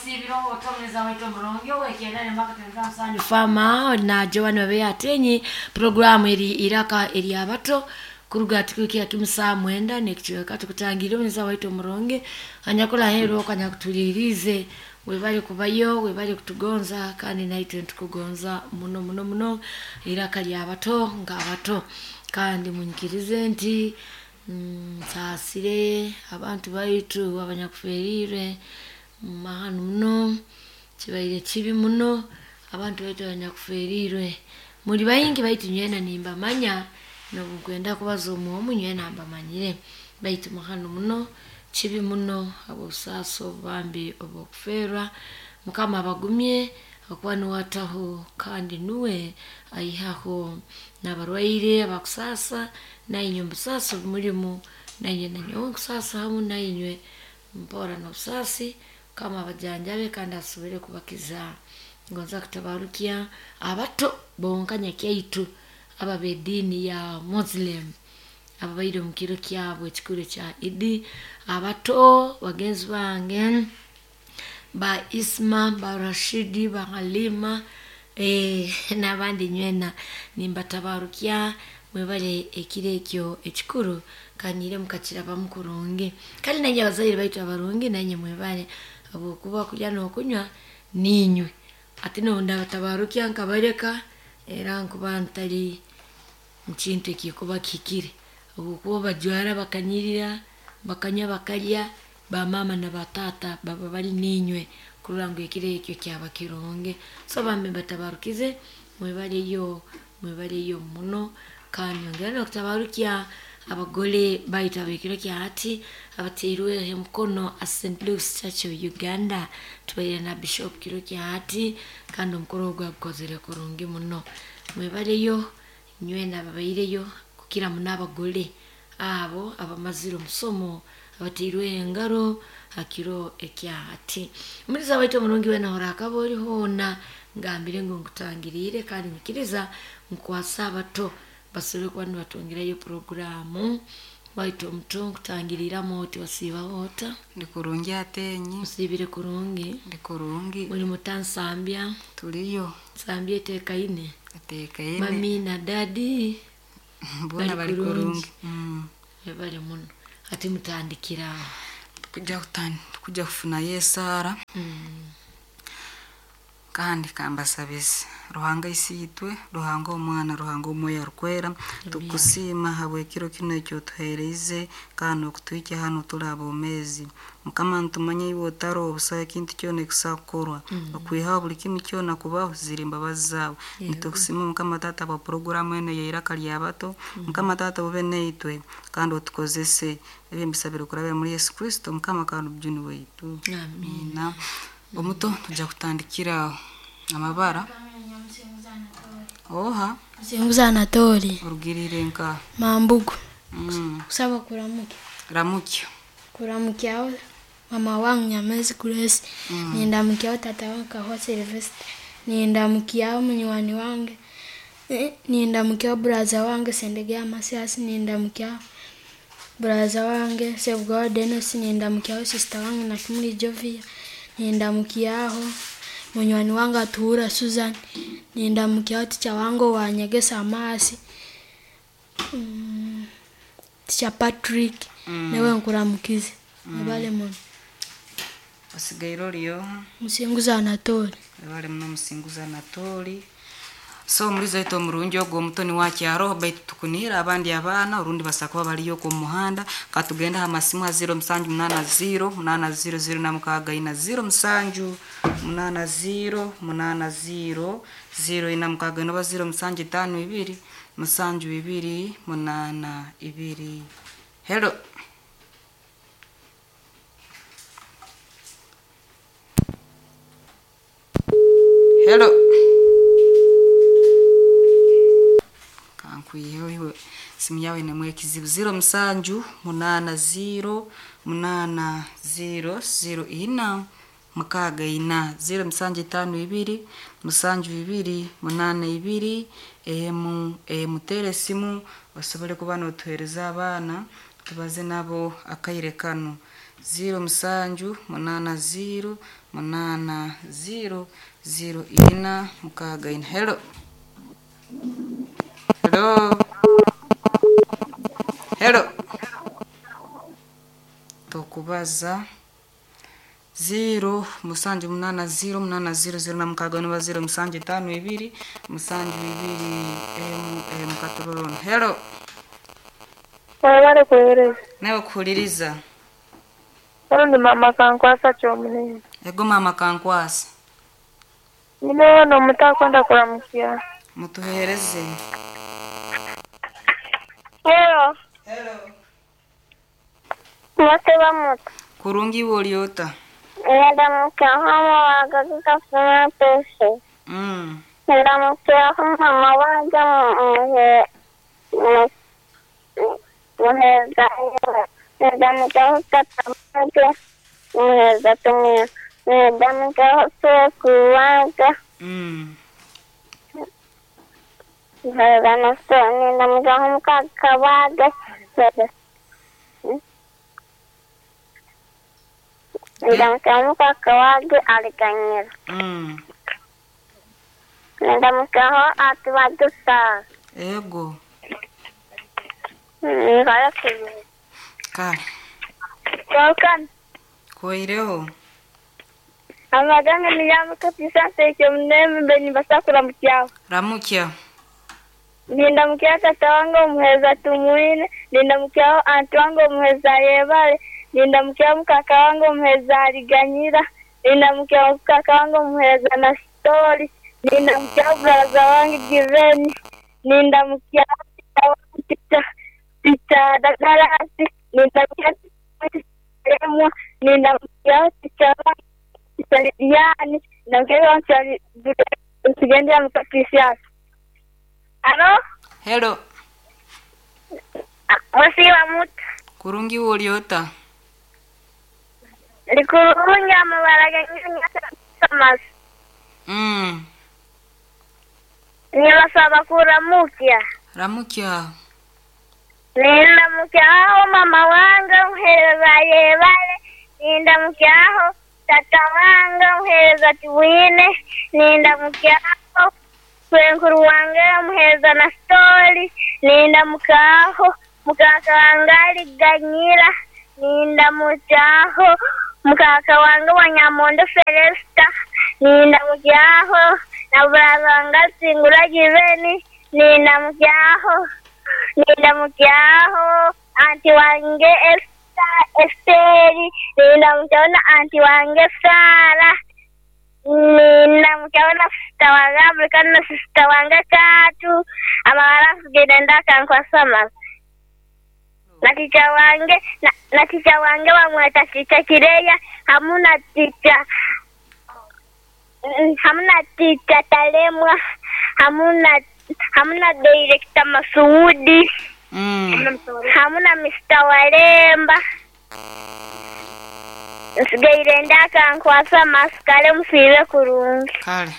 Wasiibire otomeza waitu omurungi owekenda nemaka musanju fama na Joan babe atenyi programu eri iraka eri abato kuruga tukukia kimusaa mwenda nekichweka tukutangire omuza waitu omurungi anyakula hero kanyakutulirize webale kubayo webale kutugonza kandi naitwe ntukugonza muno muno muno iraka lya abato ng'abato kandi munyikirize nti nsaasire abantu baitu abanyakuferiire mahanu muno kibaire kibi muno abantu baitu abanyakuferiirwe muri baingi baitu nywena nimbamanya nobunkwenda kubaza omu nywena mbamanyire baitu mahanu muno kibi muno habw'obusaasi obubambi obw'okuferwa mukama abagumye okuba nuwe ataho kandi nuwe aihaho n'abarwaire abakusaasa nainywe omubusaasi obumulimu nainywe nanyowe nkusaasa hamu nainywe mpora n'obusaasi mukama abajanjabe kandi asobole kubakiza. Ngonza kutabarukya abato bonka nyakyaitu aba b'ediini ya Muslim ababaire omu kiro kyabo ekikuru ekya Idi. Abato bagenzi bange ba Isma, ba Rashidi, ba Halima n'abandi nywena nimbatabarukya mwebale ekiro ekyo ekikuru kandi mukakirabamu kurungi. Kandi nainywe abazaire baitu abarungi nainywe mwebale habwokuba okulya n'okunywa niinywe. Hati nobundabatabarukya nkabaleka era nkuba ntari mukintu ekikuba kihikire habwokuba obajwara bakanyirira, bakanywa bakalya, bamaama na bataata baba bari niinywe kurora ngu ekiro ekyo kyaba kirungi. So bambi mbatabarukize mwebaleyo mwebaleyo muno kandi nyongera n'okutabarukya abagole baitu ab'ekiro kya hati abateirweho emikono a St. Luke's Church of Uganda. Tubaire na Bishop kiro kya hati kandi omukoro ogwo agukozere kurungi muno. Mwebaleyo nywena ababaireyo kukira muno abagole abo abamazire omusomo abateirweho engaro ha kiro ekya hati. Omuliisa waitu omurungi weena orakaba ori hoona ngambire ngu nkutangiriire kandi nyikiriza nkwase abato basobole kuba nibatwongerayo puroguraamu waitu omuto nkutangiriiramu oti wasiibaho ota? Ndi kurungi atenyi. Osiibire kurungi? Ndi kurungi. Muri muta Nsambya? Turiyo. Nsambya eteekaine? Eteekaine. Mami na dadi Boona bari kurungi. Mwebale muno. Hati mutandikire aho. Tukuja kufunayo esaara kandi kambasabize Ruhanga isiitwe, Ruhanga omwana, Ruhanga omwoyo arukwera, tukusiima habw'ekiro kinu eki otuheerize kandi n'okutuhikya hanu turi aboomeezi. Mukama nitumanya iwe otaroho busaho ekintu kyona ekisobola kukorwa. Okwihaho buli kimu kyona kubaho ziri mbabazi zaawe. Nitukusiima Mukama taata habwa puroguraamu enu ey'eiraka ly'abato. Mukama taata obe naitwe kandi otukozese. Ebi mbisabire kurabira muri Yesu Kristo Mukama kandi omujuni waitu. Amiina. Omuto tujja kutandikira aho amabara. Oha? Musinguzi Anatoli. Orugiriire nka? Mambugu. Kusaba kuramukya. Ramukya. Kuramukyaho mama wange Nyamwezi Grace. Nindamukyaho tata wange Kahwa Sylvester. Nindamukyaho munywani wange. Nindamukyaho buraza wange Sendege Masias. Nindamukyaho buraza wange Sebugabo Denis. Nindamukyaho sister wange Nakimuli Jovia. Nindamukyaho munywani wange Atuhura Susan. Nindamukyaho ticha wange owanyegesa amaasi ticha Patrick. Nawe nkuramukize. Mwebale muno. Osigaire ori oha? Musinguzi Anatoli. Webale muno Musinguzi Anatoli. So omulizi waitu omurungi ogwo omuto niwe akyaroho baitu tukuniire abandi abaana orundi basobola kuba bariyo okwo omu muhanda. Katugende aha masimu ha 0780 80 06 80 80 04 oba 0752 72 82. Hello. Hello. Kankwiheho iwe simu yawe nemu ekizibu 07 80 80 04 64 0752 72 82 emu tere esimu osobole kuba notuheereza abaana tubaze nabo akaire kanu. Ziro musanju munaana ziro munaana ziro ziro ina mukaaga ina. Hello. Hello. Hello. Tokubaza. 0 musanju munaana 0 munaana 0 0 na mukaaga noba 0 musanju etaano ibiri musanju ibiri emu emu katororona. Hello. Webale kuweereza. Nawe kuhuliriza. Ono ni mama Kankwasa Kyomunene. Ego mama Kankwasa. Nyine ono omuto akwenda kuramukya. Mutuhereze. Hello. Hello. Mwateba muto. Kurungi woliota. Ndamukyaho amabaga gakafuna pese. Ndamukyaho mama wange muheza. Ndamukyaho tata wange muheza tumwe. Ndamukyaho sekuru wange. Muheza nasoni. Ndamukyaho mukaka wange. Ndamukyaho mukaka wange aliganyira. Ndamukyaho ati badusa. Ego. Nikala kubi. Kale. Welcome. Koireho. Amaganga niyamuka pisanse ekyomuneme mbe nimbasa kuramukyaho. Ramukya. Nindamukyaho tata wange omuheza Tumwine, nindamukyaho anti wange omuheza Yebale, nindamukyaho mukaka wange omuheza Aliganyira, nindamukyaho mukaka wange omuheza Nasitori, nindamukyaho buraza wange Giveni, nindamukyaho tita tita Dagalasi, nindamukyaho tita nindamukyaho tita tita Lidiani, nindamukyaho tita tugendera mukapisiasi. Alo? Hello. Musiba muto. Kurungi woliota. Likurungi amabara ganyanya. Nibasaba kuramukya. Ramukya. Nindamukyaho mama wange muhereza Yebale, nindamukyaho tata wange muhereza Tubwine, nindamukyaho kwenkuru wange muhereza Nasitori, nindamukyaho mukaka wange Aliganyira, nindamukyaho mukaka wange Wanyamondo Felesta, nindamukyaho na buraza wange Singura Giveni, nindamukyaho anti wange Esteri, nindamukyaho na anti wange Sara, ninamukyaho na sisita wange Afrika na sisita wange Katu, amabara kugenda ndakankwasama. Na ticha wange na ticha wange wamweta ticha Kireya, hamuna ticha Talemwa, hamuna director Masuudi, hamuna Mr. Walemba. Nsigaire ndakankwasa masikale musiibe kurungi. Kale.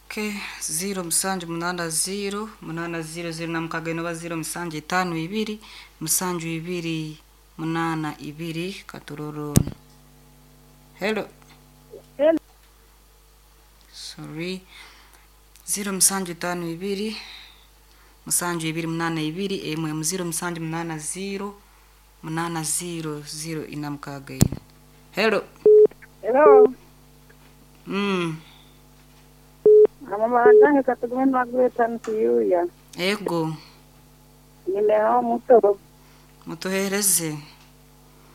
Okay, 0 musanju munaana 0 munaana 0 0 na mukaaga inoba 0 musanju etaano ibiri musanju ibiri munaana ibiri katororona. Hello. Hello. Sorry. 0 musanju etaano ibiri musanju ibiri munaana ibiri emwe 0 musanju munaana 0 munaana 0 0 ina mukaaga ina. Hello. Hello. Mama wange katugume Margaret Ntuyuya. Ego. Nineho muto. Mutuhereze.